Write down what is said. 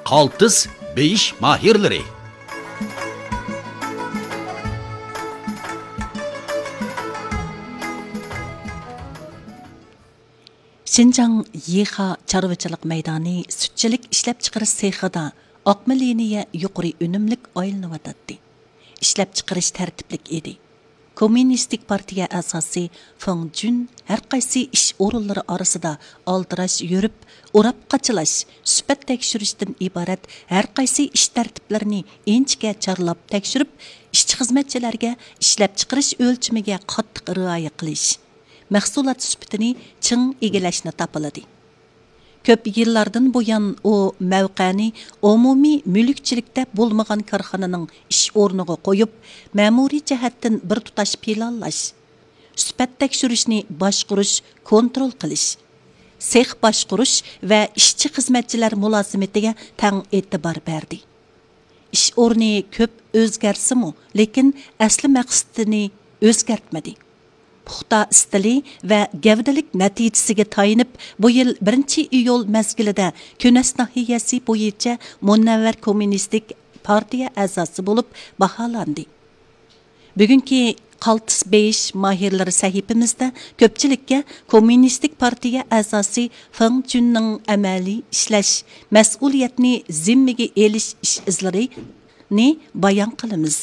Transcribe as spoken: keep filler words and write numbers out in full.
قالتىس بېيىش ماھىرلىرى. شىنجاڭ يىخا چارۋىچىلىق مەيدانى سۈتچىلىك ئىشلەپچىقىرىش سېخىدا ئاقما لىنىيە يۇقىرى ئۈنۈملۈك ئايلىنىۋاتاتتى. ئىشلەپچىقىرىش تەرتىپلىك ئىدى. كوممۇنىستىك پارتىيە ئەزاسى فېڭ جۈن ھەرقايسى ئىش ئورۇنلىرى ئارىسىدا ئالدىراش يۈرۈپ، ئوراپ قاچىلاش، سۈپەت تەكشۈرۈشتىن ئىبارەت ھەرقايسى ئىش تەرتىپلىرىنى ئىنچىكە چارلاپ تەكشۈرۈپ، ئىشچى-خىزمەتچىلەرگە ئىشلەپچىقىرىش ئۆلچىمىگە قاتتىق رىئايە قىلىش، مەھسۇلات سۈپىتىنى چىڭ ئىگىلەشنى تاپىلىدى. كۆپ يىللاردىن بۇيان ئۇ مەۋقەنى ئومۇمىي مۈلۈكچىلىكتە بولمىغان كارخانىنىڭ ئىش ئورنىغا قويۇپ، مەمۇرىي جەھەتتىن بىر تۇتاش پىلانلاش، سۈپەت تەكشۈرۈشنى باشقۇرۇش، كونترول قىلىش، سېخ باشقۇرۇش ۋە ئىشچى-خىزمەتچىلەر مۇلازىمىتىگە تەڭ ئېتىبار بەردى. ئىش ئورنى كۆپ ئۆزگەرسىمۇ، لېكىن ئەسلى مەقسىتىنى ئۆزگەرتمىدى. پۇختا ئىستىلى ۋە گەۋدىلىك نەتىجىسىگە تايىنىپ، بۇ يىل بىرىنچى ئىيۇل مەزگىلىدە كۈنەس ناھىيەسى بويىچە مۇنەۋۋەر كوممۇنىستىك پارتىيە ئەزاسى بولۇپ باھالاندى. بۈگۈنكى قالتىس بېيىش ماھىرلىرى سەھىپىمىزدە كۆپچىلىككە كوممۇنىستىك پارتىيە ئەزاسى فېڭ جۈننىڭ ئەمەلىي ئىشلەش، مەسئۇلىيەتنى زىممىگە ئېلىش ئىش ئىزلىرىنى بايان قىلىمىز.